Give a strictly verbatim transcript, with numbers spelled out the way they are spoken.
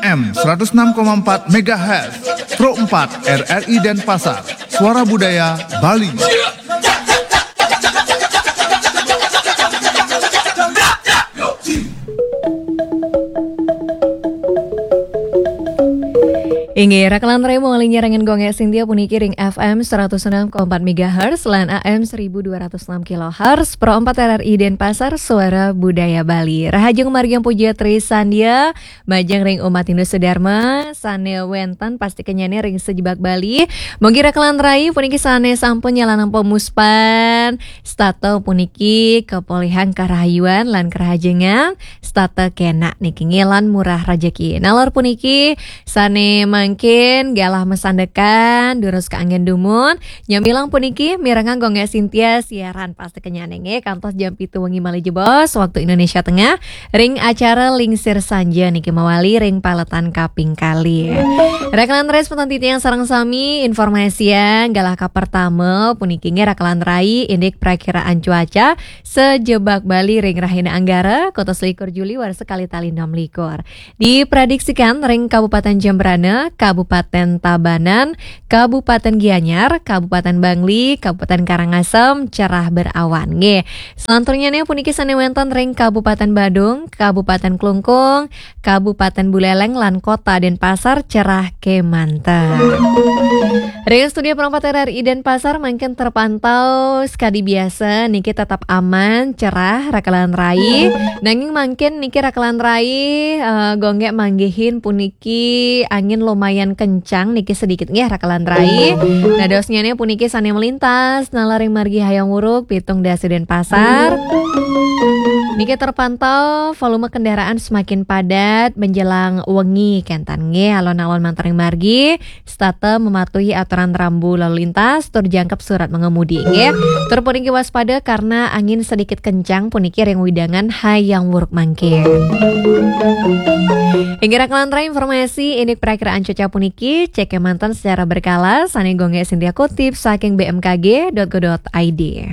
M seratus enam koma empat megahertz, Pro empat R R I Denpasar, Suara Budaya Bali. Inggih, raka lan rai, mawali nyarengan Gung Gé Sintia puniki ring F M seratus enam koma empat megahertz lan A M seribu dua ratus enam kilohertz, Pro empat R R I Denpasar, Suara Budaya Bali. Rahajeng margiang puja trisandya majeng ring umat Hindu sedharma sané wénten pastikennyané ring sajebag Bali. Mugi raka lan rai puniki sané sampun nyalanang pamuspan, setata puniki kapolihang karahayuan lan karahajengan, setata kénak niki nggih lan murah rejeki. Nalar puniki sané mangkin galah masandekan, durus kaanggén dumun, nyamilang puniki mirengang Gung Gé Sintia siaran pastikennyané nggih kantos jam pitu wengi malih jebos waktu Indonesia Tengah ring acara Lingsir Sanja niki mawali ring paletan kaping kalih. Raka lan rai semeton titiang sareng sami, informasian galah kapertama puniki nggih raka lan rai indik prakiraan cuaca sajebag Bali ring rahina Anggara, kutus likur Juli warsa kalih tali enam likur. Diprediksikan ring Kabupaten Jembrana, Kabupaten Tabanan, Kabupaten Gianyar, Kabupaten Bangli, Kabupaten Karangasem cerah berawan. Nggih. Selanturnyané puniki sané wénten ring Kabupaten Badung, Kabupaten Klungkung, Kabupaten Buleleng lan Kota Denpasar cerah kémanten. Ring studio Pro empat R R I Denpasar mangkin terpantau sekadi biasa niki tetap aman, cerah, raka lan rai. Nanging mangkin niki raka lan rai, eh, Gung Gé manggihin puniki angin lumayan kencang niki sedikit nggih raka lan rai. Dadosnyané puniki sané melintas nalar ring margi Hayam Wuruk, Pitung Dasa Denpasar. Niki terpantau volume kendaraan semakin padat menjelang wengi kénten nggih, alon-alon mantar ring margi setata mematuhi aturan rambu lalu lintas tur jangkep surat mengemudi nggih. Tur puniki waspada karena angin sedikit kencang puniki ring wewidangan Hayam Wuruk mangkin. Inggih raka lan rai, informasi indik prakiraan cuaca puniki cek kémanten secara berkala sané Gung Gé Sintia kutip saking B M K G dot go dot I D.